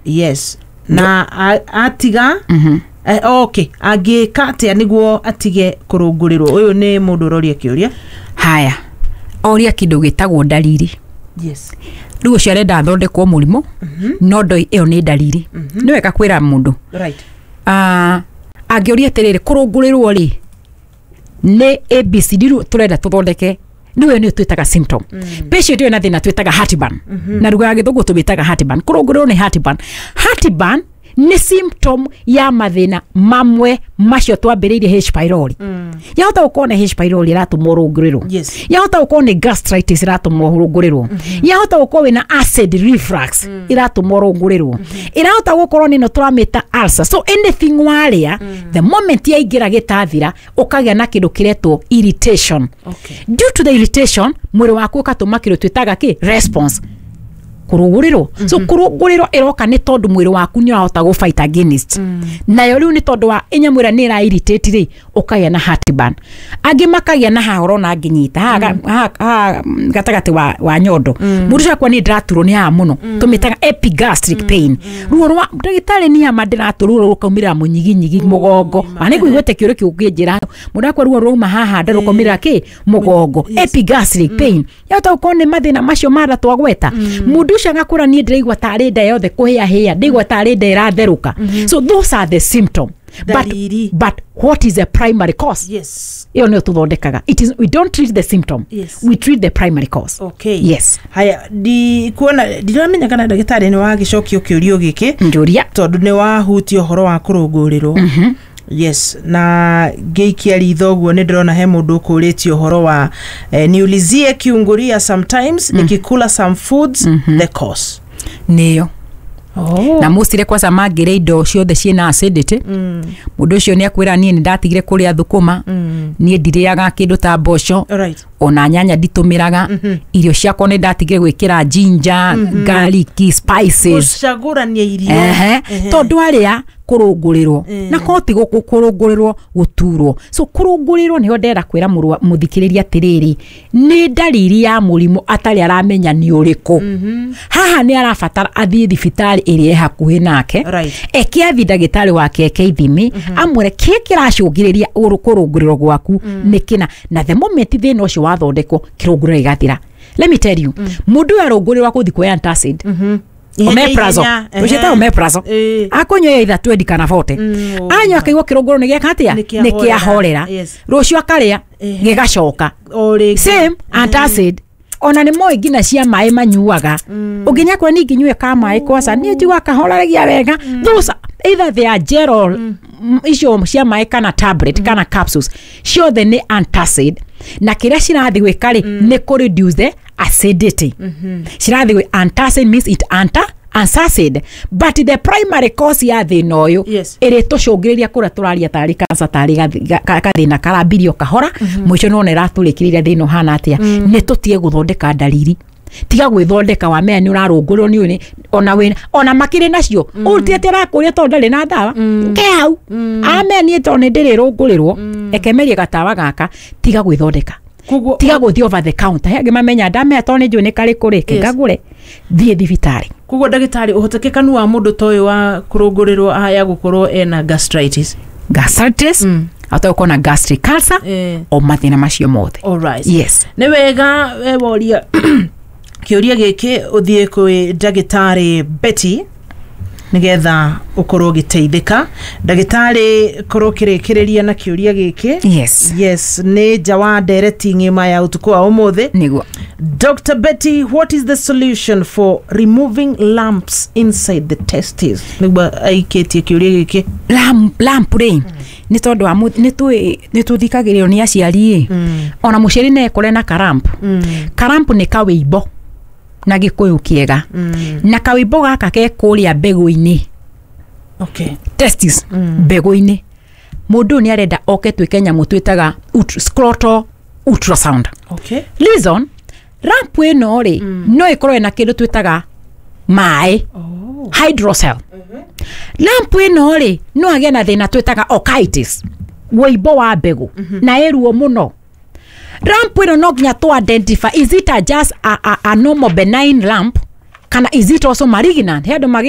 Yes, na atiga okay, angĩka atĩa nĩguo atige kũrũngũrĩrwo? Ũyũ nĩ mũndũ ũroria kĩũria. Haya, oria kĩndũ gĩtagwo ndariri. Rĩu ũcio arenda athondekwo mũrimũ, no ndoi ĩyo nĩ ndariri. Nĩ wega kwĩra mũndũ. Angĩũria atĩrĩrĩ, kũrũngũrĩrwo rĩ nĩ ABCD rĩu tũrenda tũthondeke, nĩwe nĩyo twĩtaga symptom. Patient ĩyo na thĩna twĩtaga heartburn, na lugha ya gĩthũngũ tũmĩtaga heartburn. Kũrũngũrĩrwo nĩ heartburn. Heartburn nĩ symptom ya mathĩna mamwe macio twambĩrĩirie. H pylori, yahota gũkorwo nĩ H pylori ĩratũma ũrũngũrĩrwo. Yahota gũkorwo nĩ gastritis ĩratũma ũrũngũrĩrwo. Yahota gũkorwo wĩna acid reflux ĩratũma ũrũngũrĩrwo. Ĩrahota gũkorwo nĩ ĩno tũramĩta ulcer. So anything warĩa, the moment yaingĩra gĩtathira, ũkagĩa na kĩndũ kĩretwo irritation. Due to the irritation, mwĩrĩ waku ũkatũma kĩndũ twĩtaga kĩ response, kũrũgũrĩrwo. So kũrũngũrĩrwo ĩroka nĩ tondũ mwĩrĩ waku nĩ ũrahota gũ fight against nayo. Rĩu nĩ tondũ wa ĩnyamũ ĩrĩa nĩ ĩra irritate rĩ, ũkagĩa na heartburn. Angĩ makagĩa na haha ũrona ngĩnyita haha haha gatagatĩ wa nyondo. Mũndũ ũcio akwa nĩ ndĩraturwo nĩ haha mũno, tũmĩtaga epigastric pain. Ruo rwa ndagĩtarĩ nĩ ama ndĩratũ, ruo rũkaumĩrĩra mũnyiginyigi, mũgongo. Na nĩ ngũiguĩte kĩũria kĩu ũkĩnjĩra mũndũ akwa ruo rwauma haha nda rũkaumĩrĩra kĩ mũgongo, epigastric pain. Yahota gũkorwo nĩ mathĩna macio mara twagweta. Mũndũ ũcio agakũra, niĩ ndĩraigua tarĩ nda yothe kũhĩa hĩa, ndĩigua tarĩ nda ĩratherũka. So those are the symptom, but, Dalili. but what is the primary cause? Ĩyo nĩyo tũthondekaga. It is, we don't treat the symptom. We treat the primary cause. Yes. Haya, ndikuona, ndiramenya kana ndagĩtarĩ nĩ wagĩcokio kĩũrio gĩkĩ. Njũria. Tondũ nĩ wahutia ũhoro wa kũrũngũrĩrwo. Yes, na ngĩikia ritho ũguo nĩ ndĩrona he mũndũ ũkũrĩtie ũhoro wa niulizie kiungulia sometimes nikikula some foods, the cause. Nĩyo. Na mũcire kwaca mangĩrĩa indo ciothe ciĩna acidity. Mũndũ ũcio nĩ akwĩra, niĩ nĩ ndatigire kũrĩa thũkũma, niĩ ndirĩaga kĩndũ ta mboco, ona nyanya nditũmĩraga, irio ciakwa nĩ ndatigire gwĩkĩra ginger, garlic, spices. Gũcagũrania irio. Ehe, tondũ arĩa kũrũngũrĩrwo na koti gũkũ kũrũngũrĩrwo gũturwo. So kũrũngũrĩrwo nĩho ndĩrenda kwĩra mũthikĩrĩria atĩrĩrĩ, nĩ ndariri ya mũrimũ atarĩ aramenya nĩ ũrĩkũ. Haha nĩ arabatara athiĩ thibitarĩ ĩrĩa ĩ hakuhĩ nake, eke athi ndagĩtarĩ wake eke ithimi, amwĩre kĩ kĩracũngĩrĩria kũrũngũrĩrwo gwaku nĩ kĩna. Na the moment thĩna ũcio wathondekwo, kĩrũngũrĩro gĩgathira. Let me tell you, mũndũ ũyũ arũngũrĩrwo akũthi kuoya antacid, omeprazole, tũciĩtaga omeprazole. Akũnyua ya itha 20 kana 40, anyua akaigua kĩrũngũrũ nĩ gĩeka atĩa? Nĩ nĩ kĩahorera. Kĩahorera. Rũciũ akarĩa, gĩgacoka. O rĩngĩ. Same antacid, ona nĩ moĩ nginya cia maĩ manyuaga. Ũngĩnya kwĩra niĩ ngĩnyue ka maĩ kwaca niĩ njigua kahoreragia wega. Those either they are gel icio cia maĩ kana tablet kana capsules, ciothe nĩ antacid, na kĩrĩa cirathiĩ gwĩka rĩ, nĩ kũ reduce the acidity. Cirathiĩ gwĩ antacid means it antacid, but the primary cause ya thĩna ũyũ ĩrĩ tũcũngĩrĩria kũrĩa tũraria tarĩ cancer, tarĩ gathĩna karambirio kahora, mũico nĩwona ĩratũrĩkĩrĩria thĩna ũhana atĩa. Nĩ tũtige gũthondeka ndariri. Tiga gwĩthondeka wamenya nĩ ũrarũngũrwo nĩ ũyũ ona wĩna ona makĩrĩ nacio ũrutĩte arakũria tondũ ndarĩ na ndawa ke hau amenya niĩ tondũ nĩ ndĩrĩrũngũrĩrwo ekemerie gatawa gaka. Tiga gwĩthondeka. Koguo Tiga gũthiĩ over the counter. He angĩ mamenya ndamenya tondũ nĩ njũĩ nĩ karĩkũ rĩ, ngagũre. Thiĩ thibitarĩ. Koguo ndagĩtarĩ, ũhotekekanu wa mũndũ ta ũyũ wa kũrũngũrĩrwo aya gũkorwo ena gastritis? Gastritis, ahota gũkorwo na gastric ulcer, o mathĩna macio mothe. Yes. Nĩ wega we woria kĩũria gĩkĩ ũthiĩ kwĩ ndagĩtarĩ Betty nĩgetha ũkorwo ũgĩteithĩka. Ndagĩtarĩ, korwo ũkĩrĩkĩrĩria na kĩũria gĩkĩ. Yes, nĩ nja wa ndereti ng'ima ya ũtukũ wa ũmũthĩ. Nĩguo. Dr. Betty, what is the solution for removing lumps inside the testes? Nĩguo aikĩtie kĩũria gĩkĩ. Lump rĩ, nĩ tondũ wa nĩ tũthikagĩrĩrio nĩ aciari ĩ, ona mũciari no ekore na kalump. Kalump nĩ kawĩimbo na gĩkũyũ kĩega, na kawĩimbo gaka ke kũrĩa mbegũ-inĩ. Testis, mbegũ-inĩ. Mũndũ ũyũ nĩ arenda oke twĩke nyamũ twĩtaga scrotal ultrasound. Reason, lump ĩno rĩ, no ĩkorwo ĩna kĩndũ twĩtaga maĩ, hydrocele. Lump ĩno rĩ, no agĩe na thĩna twĩtaga orchitis, wũimbo wa mbegũ, na ĩruo mũno. Lump ĩno no nginya tũ identify, is it a just a normal benign lump? Kana is it also malignant? He andũ magĩa